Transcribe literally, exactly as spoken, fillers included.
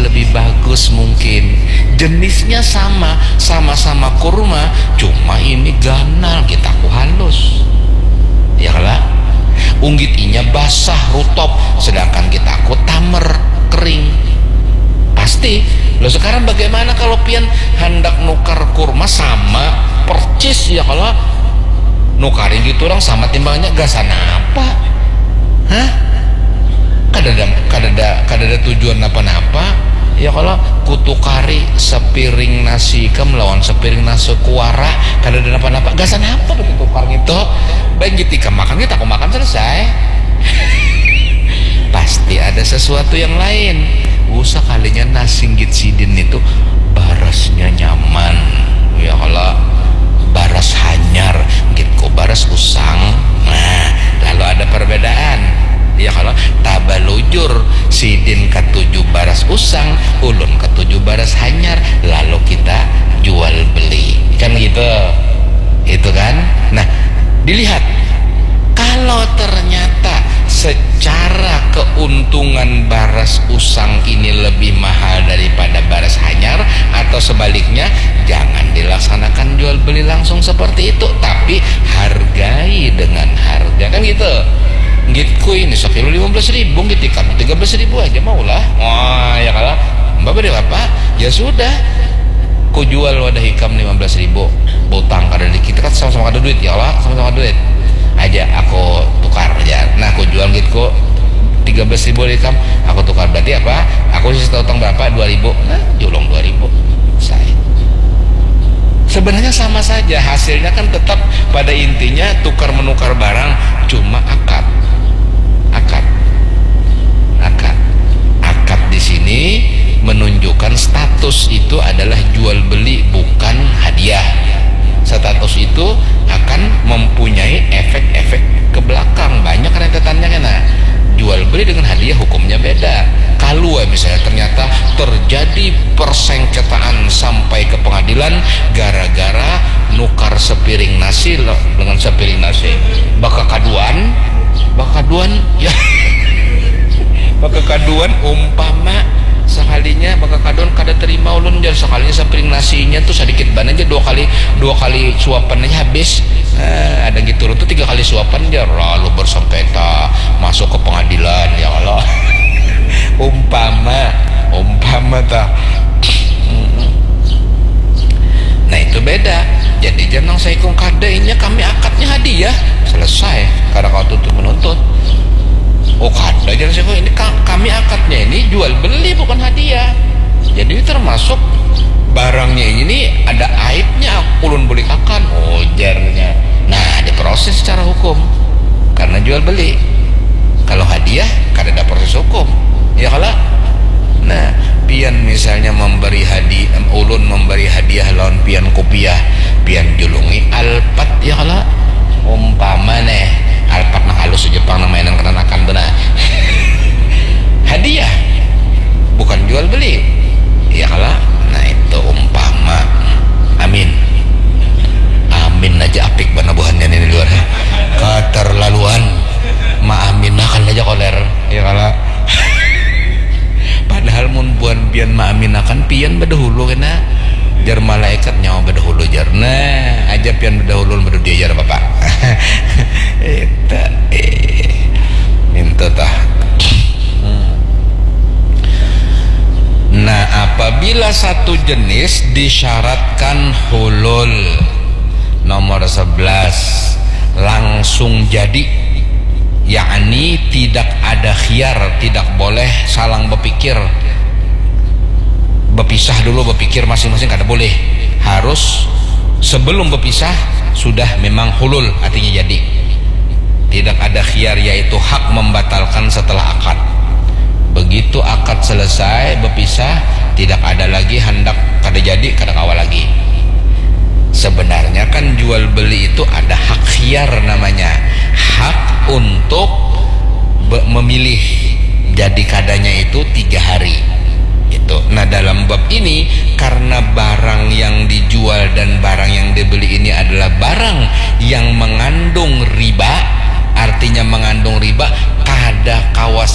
lebih bagus mungkin. Jenisnya sama, sama-sama kurma, cuma ini ganal, kita ku halus. Ya kala? Unggit inya basah, rutop, sedangkan kita ku tamer, kering. Pasti. Lo sekarang bagaimana kalau pian hendak nukar kurma sama percis, ya kala? Nukari gitu orang sama timbangnya, gasan apa? Hah? Kadada, kadada, kadada tujuan apa-apa. Ya kala? Kutukari sepiring nasi ikam lawan sepiring nasi kuara, kadada apa-apa. Gasan apa begitu tukar gitu? Baik gitu ikam makan, kita aku makan, selesai. Pasti ada sesuatu yang lain. Usah kalinya nasi nggit sidin itu barasnya nyaman. Ya kala? Baras hanyar, nggit ku baras usang. Nah, lalu ada perbedaan. Ya kala? Tabalujur, sidin katuju baras usang, ulun katuju baras hanyar, lalu kita jual beli. Kan gitu. Itu kan? Nah, dilihat. Kalau ternyata secara keuntungan baras usang ini lebih mahal daripada baras hanyar, atau sebaliknya, jangan dilaksanakan jual beli langsung seperti itu, tapi hargai dengan harga, kan gitu. Nggit ku ini sekilo lima belas ribu, nggit ikam tiga belas ribu aja maulah. Wah, ya kala? Mbak beri apa? Ya sudah. Ku jual wadah ikam lima belas ribu. Butang kada dikit, kan sama-sama kada duit, ya Allah, sama-sama duit. Aja aku tukar aja. Nah, aku jual nggit ku tiga belas ribu ikam, aku tukar. Berarti apa? Aku sisa utang berapa? Dua ribu. Nah, julung dua ribu. Saya. Sebenarnya sama saja, hasilnya kan tetap pada intinya tukar menukar barang, cuma akad. Akad. Akad. Akad di sini menunjukkan status itu adalah jual beli, bukan hadiah. Status itu akan mempunyai efek-efek ke belakang, banyak rentetannya kena. Jual beli dengan hadiah hukumnya beda. Kalau misalnya ternyata terjadi persengketaan sampai ke pengadilan gara-gara nukar sepiring nasi lo-, dengan sepiring nasi, bakakaduan, bakakaduan, ya. Bakakaduan, umpama sekalinya bakakaduan, kada terima ulun, jar, sekalinya sepiring nasinya tuh sedikit banget aja, dua kali, dua kali suapan aja habis. Eh, ada gitu, ulun tuh tiga kali suapan, jar, lalu bersengketa, masuk ke pengadilan, ya Allah. Umpama, umpama tah. Nah, itu beda. Jadi, jar nang saikung, kada, inya kami akadnya hadiah. Selesai. Kada kawa tuntut menuntut. Oh, kada, jar saikung, ini ka-, kami akadnya ini jual beli, bukan hadiah. Jadi, termasuk barangnya ini ada aibnya, ulun bulikakan, ujarnya. Nah, diproses secara hukum karena jual beli. Kalau hadiah, kada ada proses hukum, ya kala? Nah, pian misalnya memberi hadi-, ulun memberi hadiah lawan pian kupiah, pian julungi Alphard, ya kala? Umpama neh, Alphard nang halus Jepang, nang mainan kananakan tu nah. Hadiah, bukan jual beli, ya kala? Nah, itu umpama. Amin. Amin aja apik banar buhannya nih di luar. Keterlaluan. Maaminakan aja koler, ya kala? Padahal mun buhan pian maaminakan, pian badahulu kena. Jar malaikat, nyawa badahulu, jar. Nah, aja pian badahulu, ulun badudia, jar bapak. Itu, eh. Minta tah. Hmm. Nah, apabila satu jenis disyaratkan hulul, nomor sebelas, langsung jadi, yakni tidak ada khiar, tidak boleh salang bepikir, bepisah dulu, bepikir masing-masing, kada boleh. Harus sebelum bepisah sudah memang hulul, artinya jadi. Tidak ada khiar, yaitu hak membatalkan setelah akad. Begitu akad selesai, bepisah, tidak ada lagi handak, kada jadi, kada kawa lagi. Sebenarnya kan jual beli itu ada hak khiar namanya. Hak untuk be-, memilih. Jadi kadanya itu tiga hari. Itu. Nah, dalam bab ini, karena barang yang dijual dan barang yang dibeli ini adalah barang yang mengandung riba, artinya mengandung riba, kada kawa